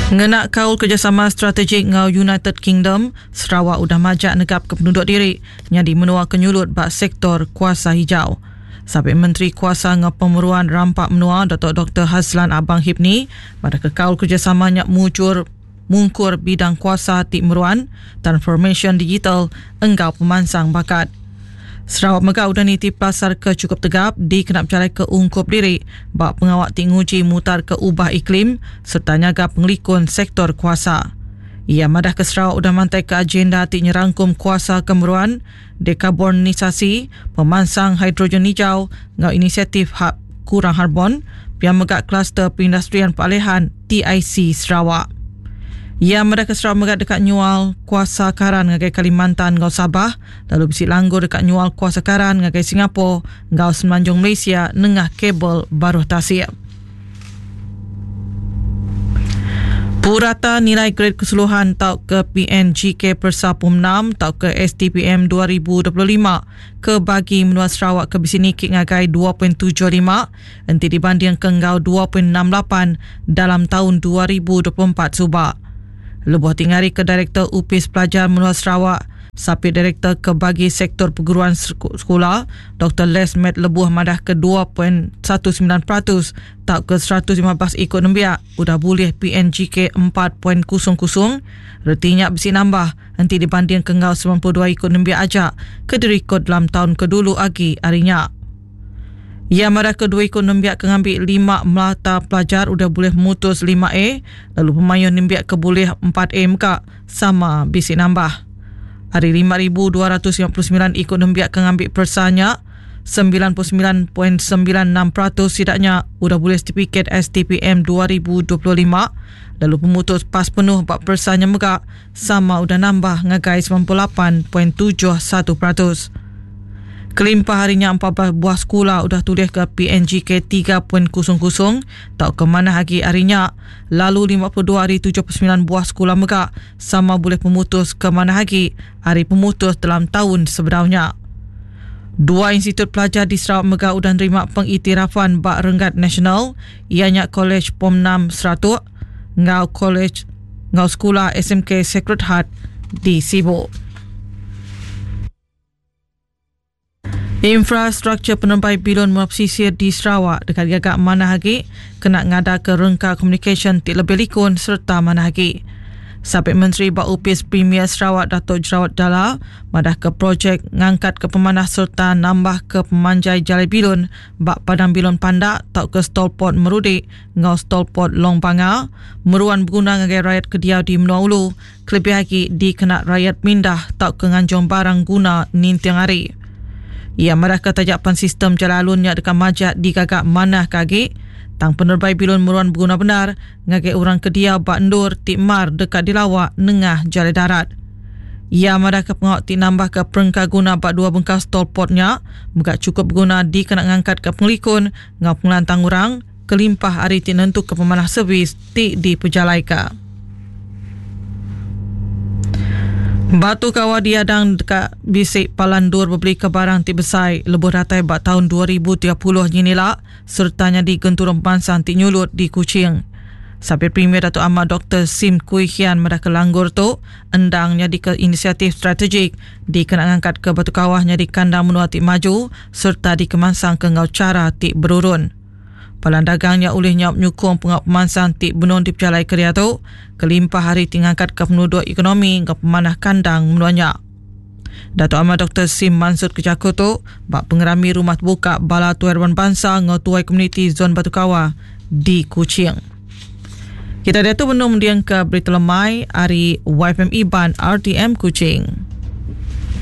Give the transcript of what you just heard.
Ngena kaul kerejasama strategik enggau United Kingdom, Sarawak udah majak negapka penuduk diri nyadi menua ke nyulut ba sektor kuasa hijau. Sapit Menteri Kuasa enggau Pemeruan Rampa Menua Datuk Doktor Hazland Abang Hipni madahka kaul kerejasama nya mujur mungkur bidang kuasa ti meruan, transformasyen digital enggau pemansang bakat. Sarawak mega udah niti pelasar ke chukup tegap dikena bejalaika ungkup diri ba pengawa ti nguji mutarka ubah iklim sereta nyaga pengelikun sektor kuasa. Iya madahka Sarawak udah mantaika agenda ti nyerangkum kuasa ke meruan, dekarbonisasi, pemansang hidrogen hijau enggau inisiatif hab kurang harbon, pia mega Kluster Perindustrian Peralihan TIC Sarawak. Iya madahka Sarawak mega deka nyual kuasa karan ngagai Kalimantan enggau Sabah lalu bisi langgur deka nyual kuasa karan ngagai Singapore enggau Semenanjung Malaysia nengah kabel baruh tasik. Purata nilai gred keseluruhan tauka PNGK Persa Pom 6 tauka STPM 2025 ke bagi menua Sarawak ke bisi niki ngagai 2.75 enti dibandingka enggau 2.68 dalam taun 2024 suba. Lebuh ti ngarika Direktor Opis Pelajar Menua Sarawak, Sapit Direktor ke bagi Sektor Perguruan Sekula, Doktor Les Met lebuh madahka 2.19% tauka 115 iku nembiak udah bulih PNGK 4.00, reti nya bisi nambah enti dibandingka enggau 92 iku nembiak aja ke dirikod dalam taun ke dulu agi ari nya. Iya madahka dua iku nembiak ke ngambi lima mata pelajar udah bulih mutus 5A lalu pemayuh nembiak ke bulih 4A mega sama bisi nambah. Ari 5,259 iku nembiak ke ngambi peresa nya, 99.96% sida nya udah bulih setipikit STPM 2025 lalu pemutus pas penuh ba peresa nya mega sama udah nambah ngagai 98.71%. Kelimpah ari nya 14 buah sekula udah tulihka PNGK 3.00 tauka manah agi ari nya lalu 52 ari 79 buah sekula mega sama bulih pemutus ke manah agi ari pemutus dalam taun sebedau nya. Dua institut pelajar di Sarawak mega udah nerima pengiktirafan ba renggat nasional iya nya Kolej Pom 6 Seratok enggau Kolej enggau Sekula SMK Sacred Heart di Sibu. Infrastruktur penerebai bilun menua pesisir di Sarawak deka digaga manah agi kena ngadaka rengka komunikasyen ti lebih likun sereta manah agi. Sapit Menteri ba Opis Premier Sarawak Datuk Jerawat Dala madahka projek ngangkatka pemanah sereta nambahka pemanjai jalai bilun ba Padang Bilun Pandak tauka Stolport Merudi enggau Stolport Long Banga meruan beguna ngagai rayat ke diau di menua ulu kelebih agi dikena rayat mindah tauka nganjung barang guna ninting hari. Iya madahka taja pan sistem jalai alun nya deka majak digaga manah ke agi, tang penerebai bilun meruan beguna bendar ngagai orang ke diau ba endur ti mar deka dilawa nengah jalai darat. Iya madahka pengawa ti nambahka perengka guna ba dua bengkah stolport nya mega chukup beguna dikena ngangkatka pengelikun enggau pengelantang orang kelimpah ari ti nentuka pemanah servis ti dipejalaika. Batu Kawa diadang deka bisi palan endur bebelika barang ti besai lebuh datai ba taun 2030 nyin ila sereta nyadi genturung pemansang ti nyulut di Kuching. Sapit Premier Datuk Amar Doktor Sim Kui Hian madahka langgur tu endang nyadika inisiatif strategik dikena ngangkatka Batu Kawah nyadi kandang menua ti maju sereta dikemansangka enggau chara ti berurun. Palan dagang nya ulih nyaup nyukung pengawa pemansang ti benung dipejalaika diatu kelimpah ari ti ngangkatka penuduk ekonomi enggau pemanah kandang menua nya. Datuk Amar Doktor Sim mansutka jaku tu ba pengerami Rumah Tebuka Bala Tuai Raban Bansa enggau Tuai Komuniti Zon Batu Kawa di Kuching. Kita diatu benung mendingka berita lemai ari YFM Iban RTM Kuching.